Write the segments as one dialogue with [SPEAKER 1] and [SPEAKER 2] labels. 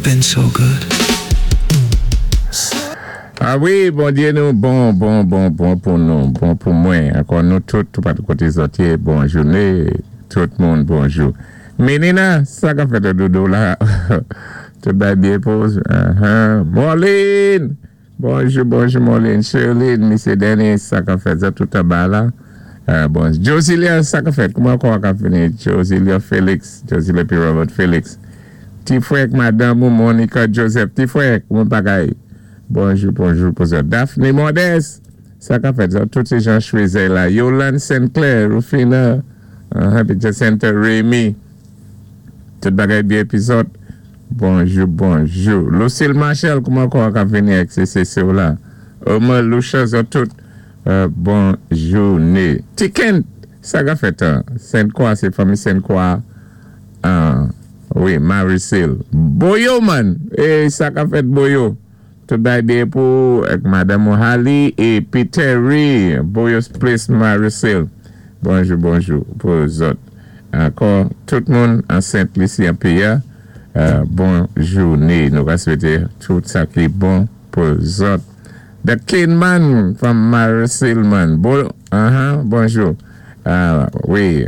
[SPEAKER 1] You've been so good.
[SPEAKER 2] A wi, Bondyé nou bon, bon, bon, bon pou nou, bon pou mwen. Ankò nou tout, toupatou koté zòt yé, bon jouné, tout moun bonjou. Menina, sa k ap fèt doudou la? Tout bagay byen pou ou? Morline! Bonjou, bonjou Morline. Sherline, Misye Dennis, sa k ap fèt? Zòt tout anba la? Bon, Josilia, sa k ap fèt? Kouman kò a k ap vini? Josilia Felix, Josilia pi Robert Felix. Ti frè ak madanm ou Monica Joseph. Ti frè, kouman bagay? Bonjou, bonjou pou zòt. Daphne Modeste, sa k ap fèt? Zòt tout sé Jean Choisey la. Yolande Sinclair, Rufina, epi Jacinta Remy. Tout bagay byen pi zòt? Bonjou, bonjou. Lucille Marshall, kouman kò a k ap vini ak CCC w la? Omar Lucia, zòt tout, bon joune. Ti Kent, sa k ap fèt? Sainte Croix, sé fanmi Sainte Croix. Wi, Maricil. Boyo man! Ey, sa k ap fèt Boyo? Tout bagay byen pou ou ak madanm ou Hali e Peterry Boyo's Place Maricil. Bonjou bonjou pou zòt. Ankò tout moun an Sent Lisi an peyi a, bon joune. Nou ka swete tout sa ki bon pou zòt. The King man from Maricil man. Bo, aha, bonjou. Wi.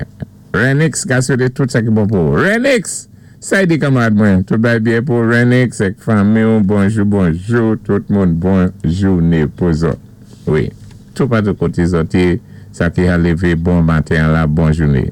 [SPEAKER 2] Renix ka swete tout sa ki bon pou ou. Renix! Sa y di kanmarad mwen? Tout bagay byen pou ou Renix ak fanmi w bonjou bonjou tout moun bon joune pou zòt. Wi toupatou kote zòt ye sa ki ha leve bon maten an la bon joune.